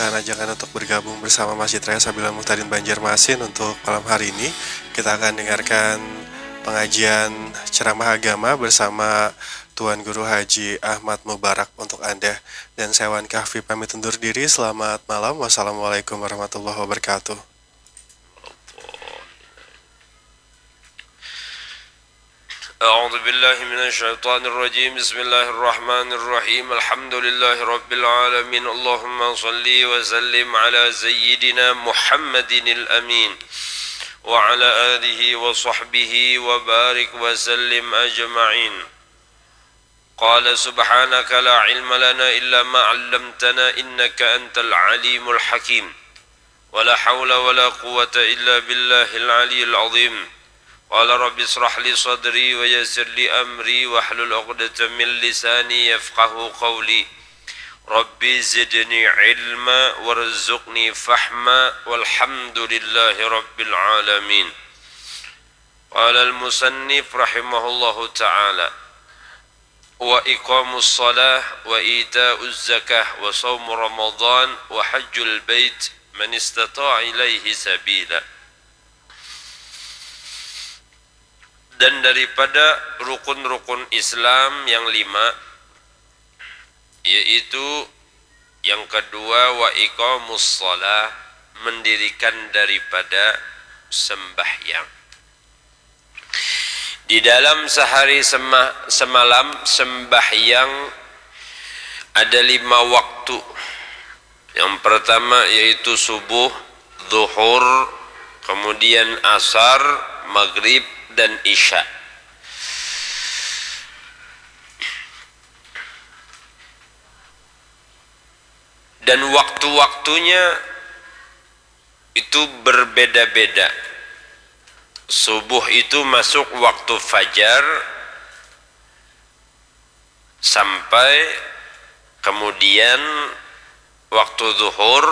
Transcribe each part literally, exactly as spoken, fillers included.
Ajakan untuk bergabung bersama Masjid Raya Sabila Muhtadin Banjarmasin untuk malam hari ini. Kita akan dengarkan pengajian ceramah agama bersama Tuan Guru Haji Ahmad Mubarak untuk Anda. Dan saya Wan Kahfi pamit undur diri. Selamat malam. Wassalamualaikum warahmatullahi wabarakatuh. أعوذ بالله من الشيطان الرجيم. بسم الله الرحمن الرحيم. الحمد لله رب العالمين. اللهم صل وسلم على سيدنا محمد الأمين وعلى آله وصحبه وبارك وسلم أجمعين. قال سبحانك لا علم لنا إلا ما علمتنا إنك أنت العليم الحكيم. ولا حول ولا قوة إلا بالله العلي العظيم. قال رب اشرح لي صدري ويسر لي أمري واحلل عقدة من لساني يفقه قولي. رب زدني علما وارزقني فهما والحمد لله رب العالمين. قال المصنف رحمه الله تعالى: وإقام الصلاة وإيتاء الزكاة وصوم رمضان وحج البيت من استطاع إليه سبيلا. Dan daripada rukun-rukun Islam yang lima, yaitu yang kedua, wa iqamus shalah, mendirikan daripada sembahyang. Di dalam sehari sema-, semalam sembahyang ada lima waktu. Yang pertama yaitu subuh, zuhur, kemudian asar, maghrib, dan isya. Dan waktu-waktunya itu berbeda-beda. Subuh itu masuk waktu fajar sampai kemudian waktu zuhur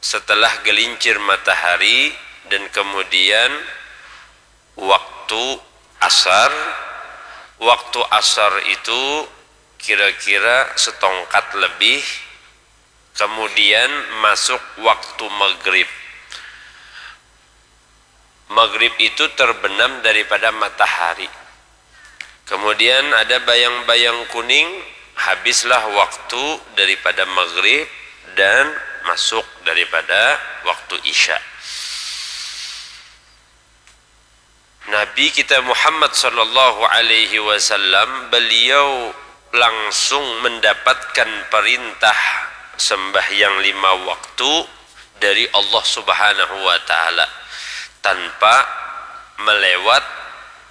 setelah gelincir matahari dan kemudian waktu asar. Waktu asar itu kira-kira setongkat lebih, kemudian masuk waktu maghrib. Maghrib itu terbenam daripada matahari. Kemudian ada bayang-bayang kuning, habislah waktu daripada maghrib dan masuk daripada waktu isya. Nabi kita Muhammad sallallahu alaihi wasallam, beliau langsung mendapatkan perintah sembahyang lima waktu dari Allah Subhanahu wa Ta'ala tanpa melewat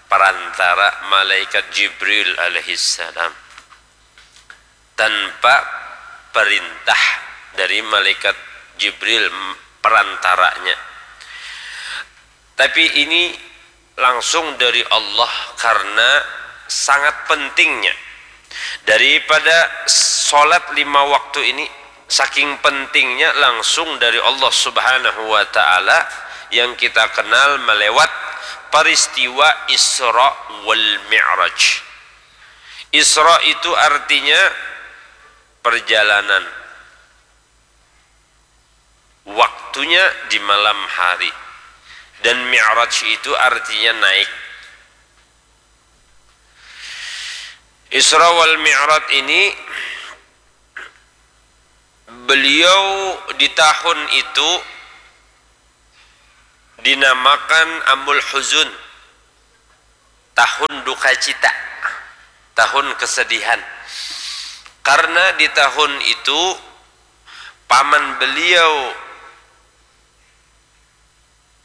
perantara malaikat Jibril alaihissalam, tanpa perintah dari malaikat Jibril perantaranya. Tapi ini langsung dari Allah karena sangat pentingnya daripada sholat lima waktu ini. Saking pentingnya langsung dari Allah Subhanahu wa Ta'ala yang kita kenal melewat peristiwa Isra wal Mi'raj. Isra itu artinya perjalanan, waktunya di malam hari, dan Mi'raj itu artinya naik. Isra wal Mi'raj ini, beliau di tahun itu dinamakan Amul Huzun, tahun duka cita, tahun kesedihan. Karena di tahun itu paman beliau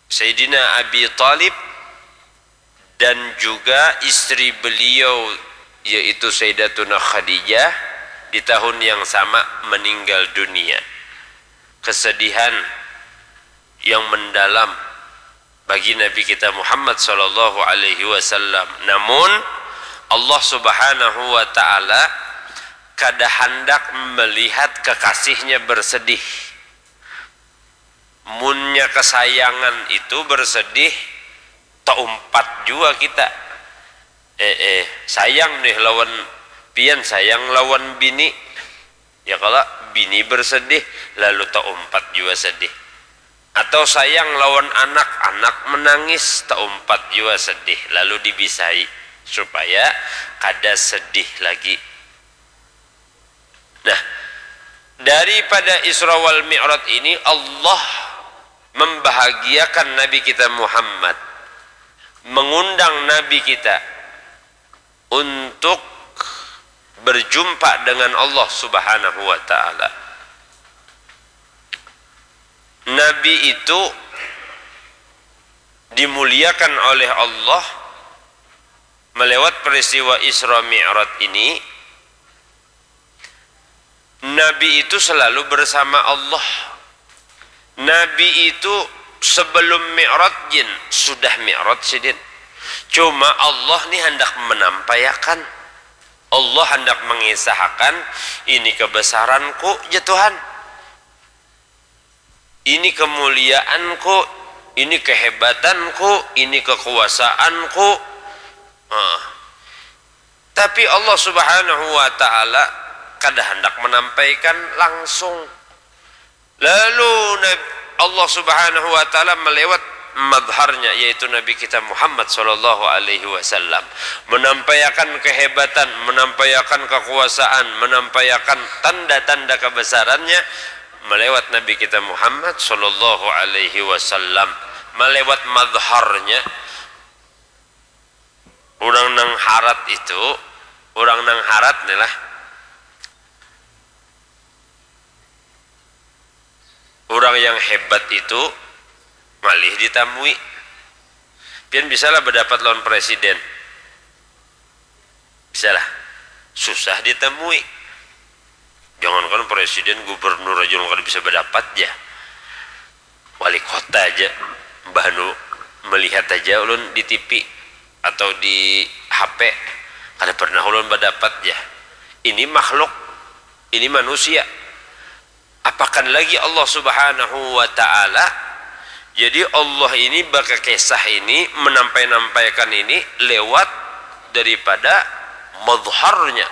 Sayyidina Abi Thalib dan juga istri beliau, yaitu Sayyidatuna Khadijah, di tahun yang sama meninggal dunia. Kesedihan yang mendalam bagi Nabi kita Muhammad sallallahu alaihi wasallam. Namun Allah Subhanahu wa Ta'ala kada handak melihat kekasihnya bersedih. Munnya kesayangan itu bersedih, taumpat jua kita. Eh, eh, sayang nih lawan pian, sayang lawan bini. Ya kalo, bini bersedih, lalu taumpat jua sedih. Atau sayang lawan anak, anak menangis, taumpat jua sedih, lalu dibisai supaya kada sedih lagi. Nah, daripada Isra wal Mi'raj ini Allah membahagiakan Nabi kita Muhammad, mengundang Nabi kita untuk berjumpa dengan Allah Subhanahu wa Ta'ala. Nabi itu dimuliakan oleh Allah melewat peristiwa Isra Mi'raj ini. Nabi itu selalu bersama Allah. Nabi itu sebelum mi'rajin sudah mi'raj sidin. Cuma Allah ni handak menampaiakan. Allah handak mengisahakan, ini kebesaranku, ja Tuhan. Ini kemuliaanku, ini kehebatanku, ini kekuasaanku. Ah. Tapi Allah Subhanahu wa Ta'ala kada handak menampaikan langsung. Lalu Nab-, Allah Subhanahu wa Ta'ala melewat madharnya, yaitu Nabi kita Muhammad sallallahu alaihi wasallam, menampaiakan kehebatan, menampaiakan kekuasaan, menampaiakan tanda-tanda kebesarannya melewat Nabi kita Muhammad sallallahu alaihi wasallam, melewat madharnya. Urang nang harat itu, urang nang harat ni lah, urang yang hebat itu ngalih ditamui. Pian bisalah badapat lawan presiden? Bisalah. Susah ditamui. Jangankan presiden, gubernur aja ulun kada bisa badapat ja. Wali kota aja, mbah anu melihat aja ulun di T V atau di H P, kada pernah ulun badapat ja. Ini makhluk, ini manusia. Apakan lagi Allah Subhanahu wa Ta'ala. Jadi Allah ini bakakisah ini, menampai-nampaikan ini lewat daripada madharnya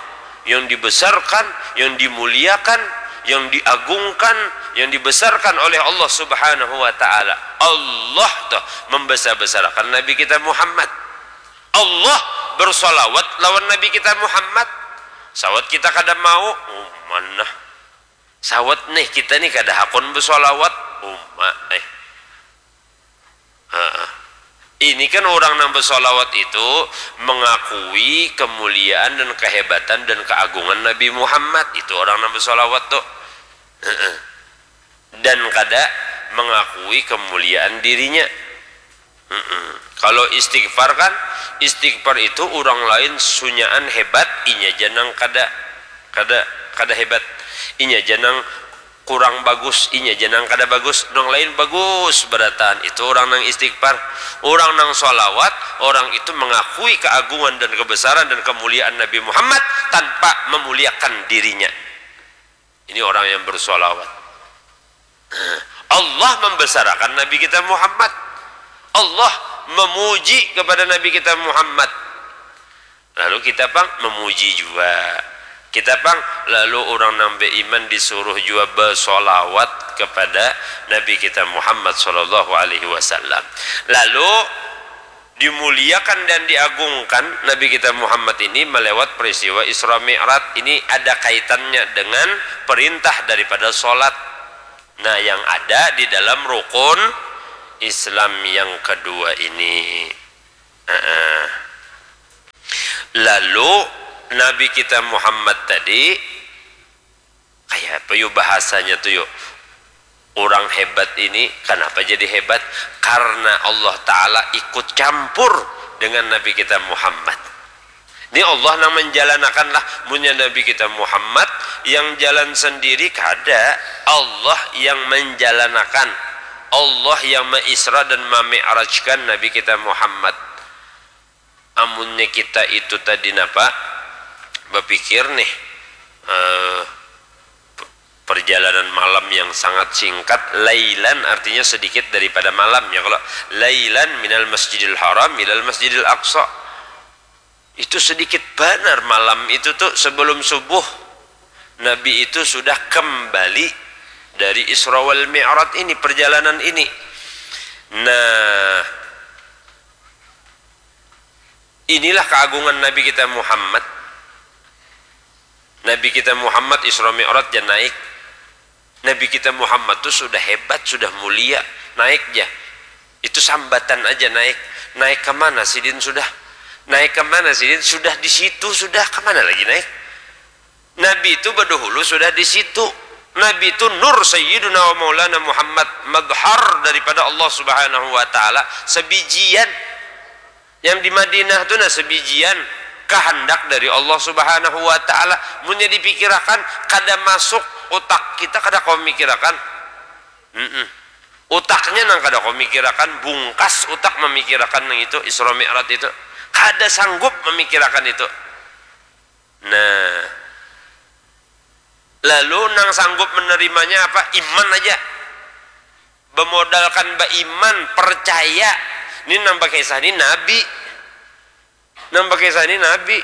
yang dibesarkan, yang dimuliakan, yang diagungkan, yang dibesarkan oleh Allah Subhanahu wa Ta'ala. Allah tuh membesar-besarkan Nabi kita Muhammad. Allah bersolawat lawan Nabi kita Muhammad. Sawat kita kada mau, oh, mana? Sawat nih, kita nih kada hakun bersolawat, uma eh. Heeh. Ini kan orang nang bersolawat itu mengakui kemuliaan dan kehebatan dan keagungan Nabi Muhammad. Itu orang nang bersolawat tuh. Heeh. Dan kada mengakui kemuliaan dirinya. Mm-mm. Kalau istighfar kan, istighfar itu orang lain sunyaan hebat, inya ja nang kada, kada, kada hebat. Inya ja nang kurang bagus, inya ja nang kada bagus, nang lain bagus berataan. Itu orang nang istighfar. Orang nang sholawat, orang itu mengakui keagungan dan kebesaran dan kemuliaan Nabi Muhammad tanpa memuliakan dirinya. Ini orang yang bersolawat. Allah membesarakan Nabi kita Muhammad. Allah memuji kepada Nabi kita Muhammad. Lalu kita pang memuji jua. Kita pang lalu orang nang beriman disuruh jua bersolawat kepada Nabi kita Muhammad sallallahu alaihi wasallam. Lalu dimuliakan dan diagungkan Nabi kita Muhammad ini melewat peristiwa Isra Mi'raj. Ini ada kaitannya dengan perintah daripada salat. Nah, yang ada di dalam rukun Islam yang kedua ini. Heeh. Lalu Nabi kita Muhammad tadi, kayak apa yuk bahasanya tuh yuk? Orang hebat ini kenapa jadi hebat? Karena Allah Ta'ala ikut campur dengan Nabi kita Muhammad. Ini Allah nang menjalanakan lah, munnya Nabi kita Muhammad yang jalan sendiri kada, Allah yang menjalanakan, Allah yang meisra dan memi'rajkan Nabi kita Muhammad. Amunnya kita itu tadi napa, bapikir nih, eh, perjalanan malam yang sangat singkat, lailan artinya sedikit daripada malam ya, kalau lailan minal masjidil haram ilal masjidil aqsa, itu sedikit banar malam itu tuh sebelum subuh. Nabi itu sudah kembali dari Isra wal Mi'raj ini, perjalanan ini. Nah, inilah keagungan Nabi kita Muhammad. Nabi kita Muhammad Isra Mi'raj ja naik. Nabi kita Muhammad tu sudah hebat, sudah mulia, naik ja. Itu sambatan aja naik. Naik ke mana sidin sudah? Naik ke mana sidin? Sudah di situ, sudah ke mana lagi naik? Nabi itu berdahulu sudah di situ. Nabi itu nur Sayyiduna wa Maulana Muhammad, madhar daripada Allah Subhanahu wa Ta'ala, sebijian. Yang di Madinah tu nah sebijian, kehendak dari Allah Subhanahu wa Ta'ala. Munnya dipikirakan, kada masuk utak kita, kada kawa mikirakan. Mm-mm. Utaknya nang kada kawa mikirakan, bungkas utak memikirakan nang itu, Isra Mi'raj itu. Kada sanggup memikirakan itu. Nah, lalu nang sanggup menerimanya apa? Iman aja. Bemodalkan baiman, percaya. Ini nang bakisah ini nabi. Nang bakisah ini nabi.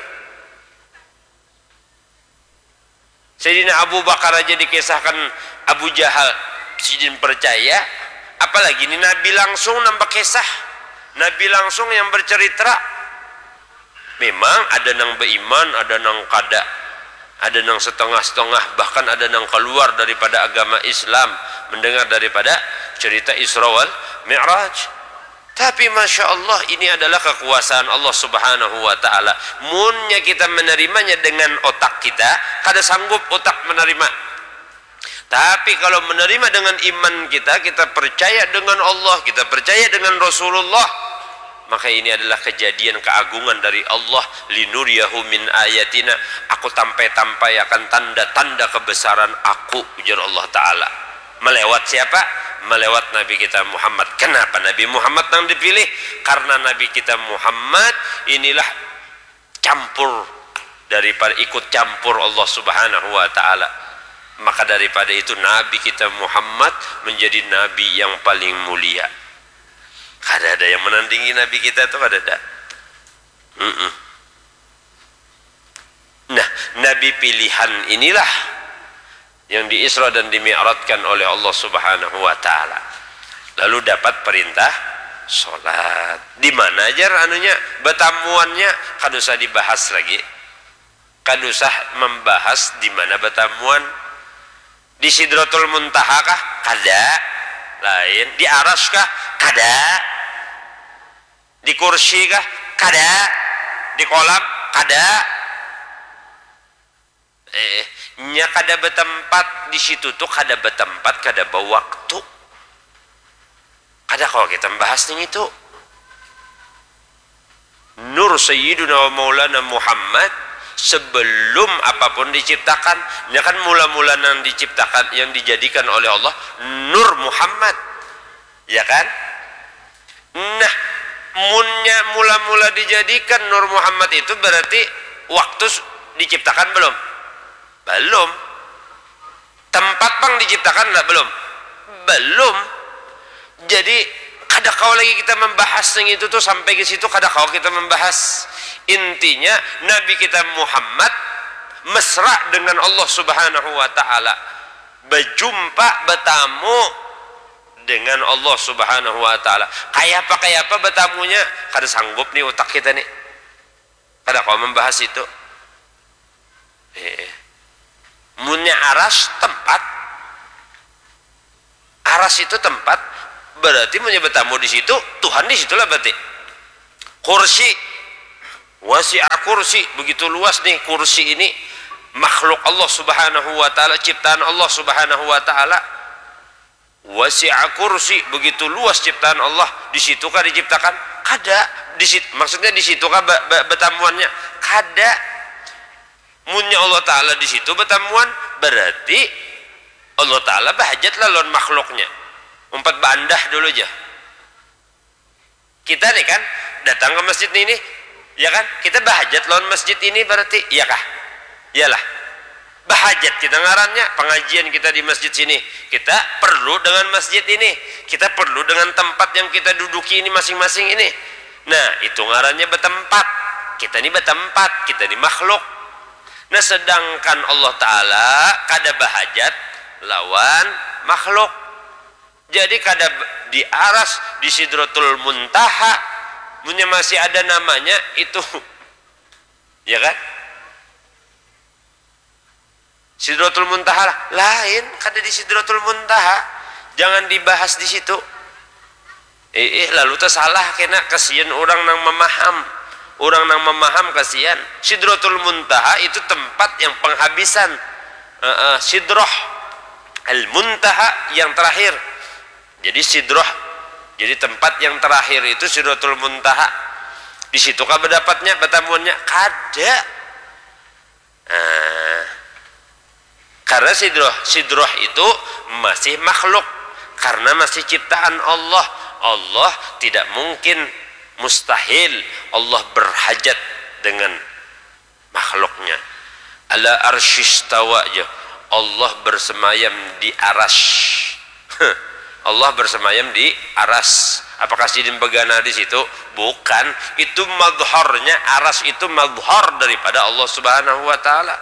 Sayyidina Abu Bakar aja dikisahkan Abu Jahal, sidin percaya, apalagi ini nabi langsung nang bakisah, nabi langsung yang bercerita. Memang ada nang beiman, ada nang kada, ada nang setengah-setengah, bahkan ada nang keluar daripada agama Islam mendengar daripada cerita Isra wal Mi'raj. Tapi masya Allah, ini adalah kekuasaan Allah Subhanahu wa Ta'ala. Munnya kita menerimanya dengan otak kita, kada sanggup otak menerima. Tapi kalau menerima dengan iman kita, kita percaya dengan Allah, kita percaya dengan Rasulullah, maka ini adalah kejadian keagungan dari Allah. Linuriyahu min ayatina, aku tampai-tampai akan tanda-tanda kebesaran aku, ujar Allah Ta'ala. Melewat siapa? Melewat Nabi kita Muhammad. Kenapa Nabi Muhammad yang dipilih? Karena Nabi kita Muhammad inilah campur daripada ikut campur Allah Subhanahu wa Ta'ala. Maka daripada itu Nabi kita Muhammad menjadi Nabi yang paling mulia. Kada ada yang menandingi Nabi kita tuh, kada ada. Mm-mm. Nah, Nabi pilihan inilah yang diisra dan dimi'rajkan oleh Allah Subhanahu wa Ta'ala. Lalu dapat perintah sholat. Di mana aja anunya, betamuannya, kada usah dibahas lagi. Kada usah membahas di mana betamuan. Di Sidratul Muntaha kah? Kada. Lain. Di Aras kah? Kada. Di kursi kah? Kada. Di kolam? Kada. Eh, nya kada betempat di situ tuh, kada betempat, kada bawaktu. Kada kawa kita membahas ning itu. Nur Sayyiduna wa Maulana Muhammad sebelum apapun diciptakan, nya kan mula-mula nang diciptakan, yang dijadikan oleh Allah, Nur Muhammad. Ya kan? Nah, munnya mula-mula dijadikan Nur Muhammad itu berarti waktu diciptakan belum? Belum. Tempat pang diciptakan ndak? Belum. Belum. Jadi kada kawa lagi kita membahas yang itu tuh, sampai ke situ kada kawa kita membahas. Intinya Nabi kita Muhammad mesra dengan Allah Subhanahu wa Ta'ala, berjumpa, bertamu dengan Allah Subhanahu wa Ta'ala. Kayapa, kayapa betamunya? Kada sanggup nih utak kita nih. Kada kawa membahas itu. Eh. Munnya Aras tempat, Aras itu tempat, berarti munnya betamu di situ, Tuhan di situlah berarti. Kursi, wasi'a kursi, begitu luas nih kursi ini, makhluk Allah Subhanahu wa Ta'ala, ciptaan Allah Subhanahu wa Ta'ala. Wasi'a kursi, begitu luas ciptaan Allah. Di situ kah diciptakan? Kada. Di sit-, maksudnya di situ kah be-, be-, betamuannya? Kada. Munnya Allah Ta'ala di situ betamuan, berarti Allah Ta'ala bahajat lah lawan makhluknya. Umpat bandah dulu aja. Kita nih kan datang ke masjid ini, ya kan? Kita bahajat lawan masjid ini berarti, iya kah? Iyalah. Bahajat kita ngarannya, pengajian kita di masjid sini. Kita perlu dengan masjid ini. Kita perlu dengan tempat yang kita duduki ini masing-masing ini. Nah, itu ngarannya bertempat. Kita ini bertempat, kita ini makhluk. Nah, sedangkan Allah Ta'ala kada bahajat lawan makhluk. Jadi kada di aras, di Sidratul Muntaha, munnya masih ada namanya itu. Ya kan? Sidratul Muntaha lah. Lain, kada di Sidratul Muntaha. Jangan dibahas di situ. Ih, lalu teh salah kena, kasian orang nang memaham. Orang nang memaham kasian. Sidratul Muntaha itu tempat yang penghabisan. Uh, uh, Sidroh Al-Muntaha yang terakhir. Jadi Sidroh, jadi tempat yang terakhir itu Sidratul Muntaha. Di situ kah berdapatnya, bertamuannya? Kada. Nah, karena sidroh, sidroh itu masih makhluk, karena masih ciptaan Allah. Allah tidak mungkin, mustahil Allah berhajat dengan makhluknya. Ala arsyistawa aja. Allah bersemayam di aras. Allah bersemayam di aras. Apakah sidin begana di situ? Bukan. Itu madharnya, aras itu madhar daripada Allah Subhanahu wa Ta'ala.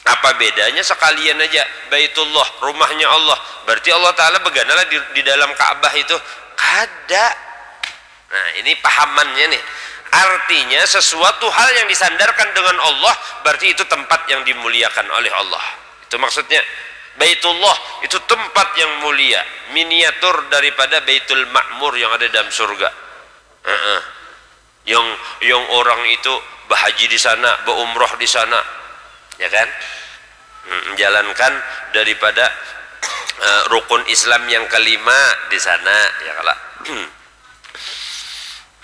Apa bedanya sekalian aja Baitullah, rumahnya Allah. Berarti Allah Ta'ala beganalah di, di dalam Ka'bah itu. Kada. Nah, ini pahamannya nih. Artinya sesuatu hal yang disandarkan dengan Allah, berarti itu tempat yang dimuliakan oleh Allah. Itu maksudnya. Baitullah itu tempat yang mulia, miniatur daripada Baitul Ma'mur yang ada dalam surga. Heeh. Yang, yang orang itu bahaji di sana, berumroh di sana, ya kan? Hmm, menjalankan daripada eh, rukun Islam yang kelima di sana, ya kala. Hmm,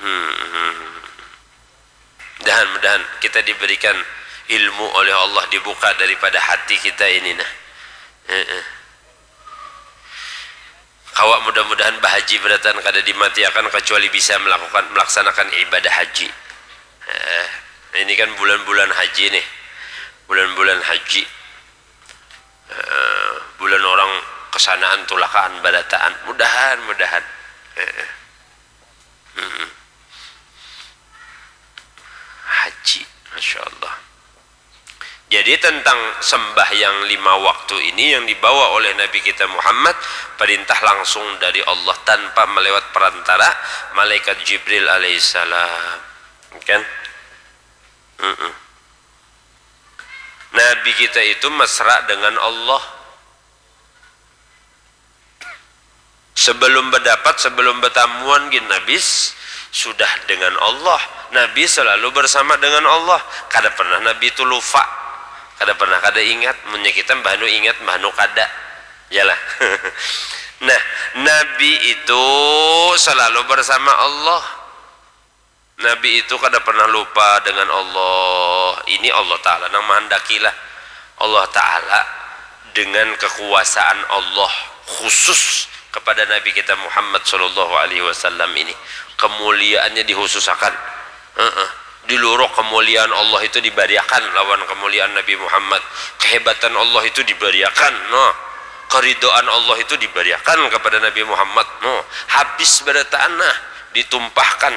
hmm. Mudahan, mudahan kita diberikan ilmu oleh Allah, dibuka daripada hati kita ini, nah. Heeh. Kawa mudah-mudahan bahaji berataan kada dimatiakan kecuali bisa melakukan, melaksanakan ibadah haji. Eh, ini kan bulan-bulan haji nih. Bulan-bulan haji. Eh, bulan orang kesanaan tulakaan barataan. Mudahan, mudahan. Eh, eh. Hmm. Haji, Masya Allah. Jadi tentang sembahyang lima waktu ini yang dibawa oleh Nabi kita Muhammad, perintah langsung dari Allah tanpa melewat perantara malaikat Jibril alaihissalam. Kan? Mm-mm. Nabi kita itu mesra dengan Allah. Sebelum berdapat, sebelum bertamuan gin Nabi s-, sudah dengan Allah. Nabi selalu bersama dengan Allah. Kada pernah Nabi itu lupa. Kada pernah kada ingat. Munnya kita mbah nu ingat, mbah nu kada. Yalah. Nah, Nabi itu selalu bersama Allah. Nabi itu kada pernah lupa dengan Allah. Ini Allah Ta'ala nang mahandakilah. Allah Ta'ala dengan kekuasaan Allah khusus kepada Nabi kita Muhammad sallallahu alaihi wasallam ini. Kemuliaannya dikhususakan. Heeh. Di luruk kemuliaan Allah itu dibariakan lawan kemuliaan Nabi Muhammad. Kehebatan Allah itu dibariakan. Nah, keridhaan Allah itu dibariakan kepada Nabi Muhammad. Nah, habis barataan nah, ditumpahkan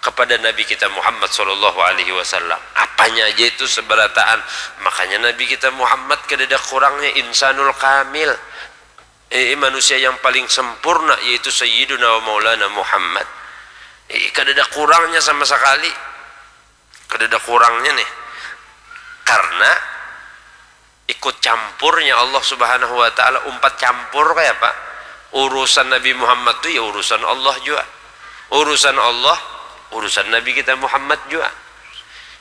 kepada Nabi kita Muhammad sallallahu alaihi wasallam. Apanya aja itu seberataan. Makanya Nabi kita Muhammad kadada kurangnya, insanul kamil. Eh, manusia yang paling sempurna yaitu Sayyiduna wa Maulana Muhammad. Eh, kadada kurangnya sama sekali. Kadada kurangnya nih. Karena ikut campurnya Allah Subhanahu wa Ta'ala, umpat campur kayak apa? Urusan Nabi Muhammad tuh ya urusan Allah juga. Urusan Allah, urusan Nabi kita Muhammad juga.